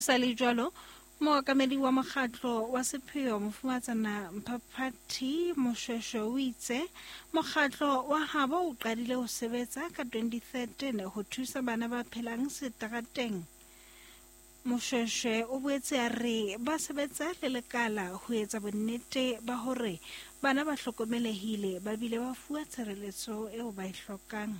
Sa le jwalo, mookamedi wa mokgatlo wa sepheo Mofumatsana Mphaphathi Moshweshwe o itse mokgatlo wa habo o qadile ho sebetsa ka 2013 ho thusa bana ba phelang seterateng. Moshweshwe o boetse a re ba sebetsa le lekala ho etsa bonnete ba hore bana ba hlokomelehile ba bile ba fuwa tshireletso eo ba e hlokang.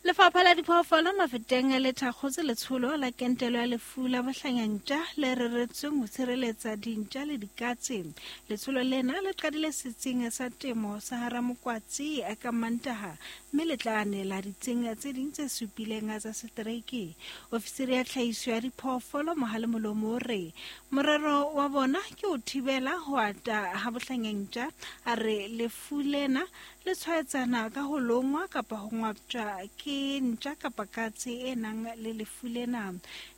Lefapha la Diphoofolo Mafeteng le thakgotse letsholo la kentelo ya lefu la bohlanyantja le reretsweng ho tshireletsa dintja le dikatse. Letsholo lena le qadile setsing sa temo sa Haramokwatsi ka Mantaha mme le tla anela ditsing tse ding tse supileng tsa setereke. Ofisiri ya tlhahiso ya diphoofolo Mohale Molomo o re morero wa bona ke ho thibela ho ata ha bohlanyantja. A re lefu lena Le tshwaetsana ka ho longwa kapa ho ngwaptjwa ke ntja kapa katse e nang le lefu lena.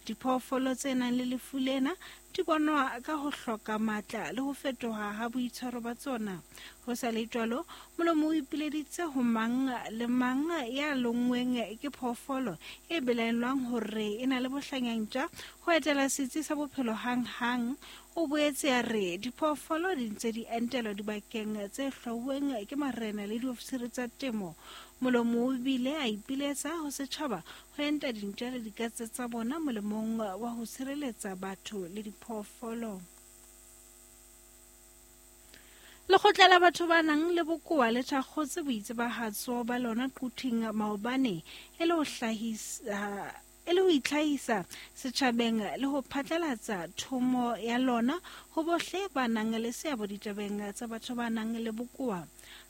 Diphoofolo tse nang le lefu lena di bonwa ka ho hloka matla le ho fetoha ha boitshwaro ba tsona. Ho sa le jwalo, molomo o ipileditse ho mang le mang ya lonngweng ke phoofolo e belaellwang hore e na le bohlanyantja ho etela setsi sa bophelo hang-hang. O boetse a re diphoofolo di ntse di entelwa dibakeng tse hlwauweng ke marena le diofisiri tsa temo. Molomo o bile a ipiletsa ho setjhaba ho enta dintja le dikatse tsa bona molemong wa ho sireletsa batho le diphoofolo. Lekgotla la batho ba nang le bokowa le thakgotse boitsebahatso ba lona Quthing maobane e le ho hlahisa e le ho itlhahisa setjhabeng le ho phatlalatsa thomo ya lona ho bohle ba nang le seabo ditabeng tsa batho ba nang le bokowa.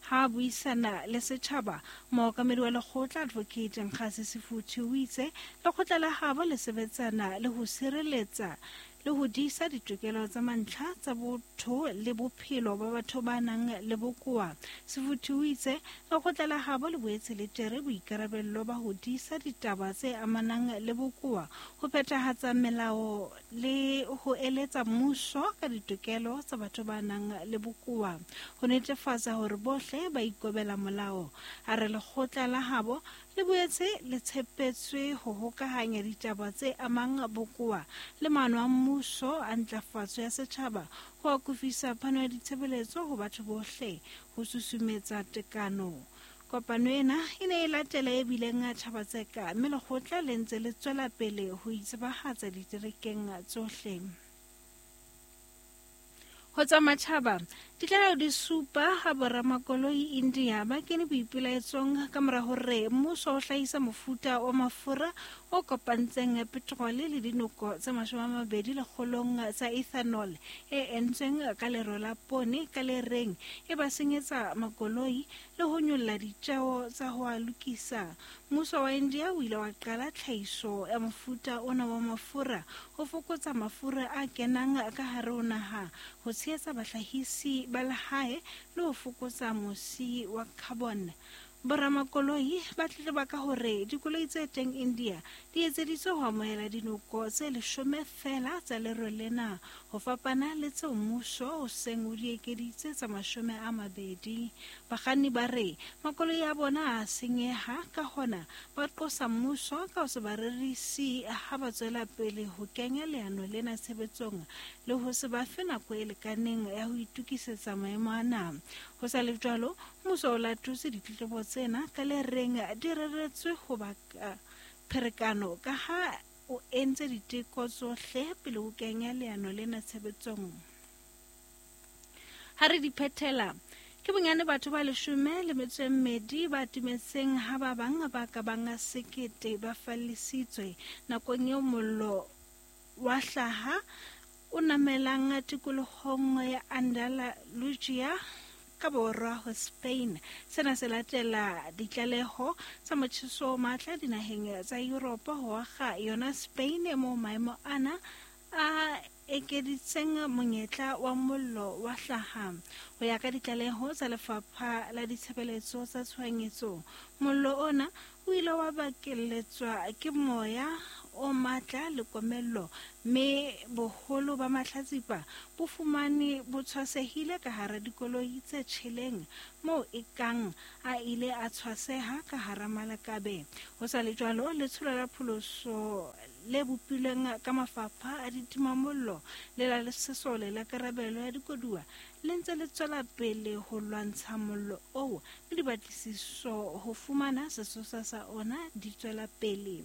Ha a buisana le setjhaba, mookamedi wa lekgotla Advocate Nkgase Sefuthi o itse lekgotla la habo le sebetsana le ho sireletsa le ho disa ditokelo tsa mantlha tsa botho le bophelo ba batho ba nang le bokoa. Sefuthi o itse lekgotla la habo le boetse le tšere boikarabello ba ho disa ditaba tse amanang le bokoa, ho phethahatsa melao le ho eletsa mmuso ka ditokelo tsa batho ba nang le bokoa, ho netefatsa hore bohle ba ikobela molao. A re lekgotla la habo Le boetse le tshepetswe ho hokahanya ditaba tse amang bokowa le maano a mmuso a ntlafatso ya setjhaba ho akofisa phano ya ditshebeletso ho batho bohle, ho susumetsa tekano. Kopano ena e ne e latela e bileng Thaba-Tseka mme lekgotla le ntse le tswela pele ho itsebahatsa diterekeng tsohle. Ho tsa matjhaba, ditlaleho di supa ha boramakoloi India ba kene boipelaetsong ka mora hore mmuso o hlahisa mofuta wa mafura o kopantseng petrole le dinoko tse 20 lekgolong tsa ethanol e entsweng ka lero la poone ka le reng e ba senyetsa makoloi le ho nyolla ditjeo tsa ho a lokisa. Mmuso wa India o ile wa qala tlhahiso ya mofuta ona wa mafura ho fokotsa mafura a kenang ka hare ho naha, ho tshehetsa bahlahisi ba lehae le ho fokotsa mosi wa carbon. Boramakoloi ba tletleba ka hore dikoloi tse teng India di etseditswe ho amohela dinoko tse leshome feela tsa lero lena, ho fapana le tseo mmuso o seng o di ekeditse tsa 20. Bakganni ba re makoloi a bona a senyeha, ka hona ba qosa mmuso ka ho se ba rerisi ha ba tswela pele ho kenya leano lena tshebetsong le ho se ba fe nako e lekaneng ya ho itokisetsa maemo ana. Ho sa le jwalo, mmuso o latotse ditletlebo tsena ka le reng di reretswe ho baka pherekano ka ha o entse diteko tsohle pele o kenya leano lena tshebetsong. Ha re di phethela, ke bonyane batho ba 12 ba timetseng ha ba bang ba ka bang 1000 ba fallisitswe nakong eo mollo wa hlaha o namelang tikolohong ya Andalusia ka borwa ho Spain. Sena se latela ditlaleho tsa motjheso o matla dinaheng tsa Yuropa ho akga yona Spain moo maemo ana a ekeditseng monyetla wa mollo wa hlaha. Ho ya ka ditlaleho tsa Lefapha la Ditshebeletso tsa Tshohanyetso, mollo ona o ile wa bakelletswa ke moya o matla le komello, mme boholo ba mahlatsipa bo fumane bo tshwasehile ka hara dikoloi tse tjheleng moo e kang a ile a tshwaseha ka hara malakabe. Ho sa le jwalo, letsholo la pholoso le bopilweng ka mafapha a ditimamollo le la sesole la karabelo ya dikoduwa le ntse le tswela pele ho lwantsha mollo oo, le dipatlisiso ho fumana sesosa sa ona di tswela pele.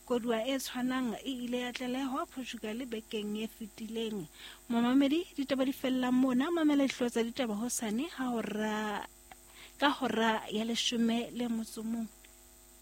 Koduwa e tshwanang e ile ya tlalehwa Portugal bekeng e fetileng. Momamedi, ditaba di fella mona. Mamela dihlooho tsa ditaba hosane ha hora ka hora ya 11.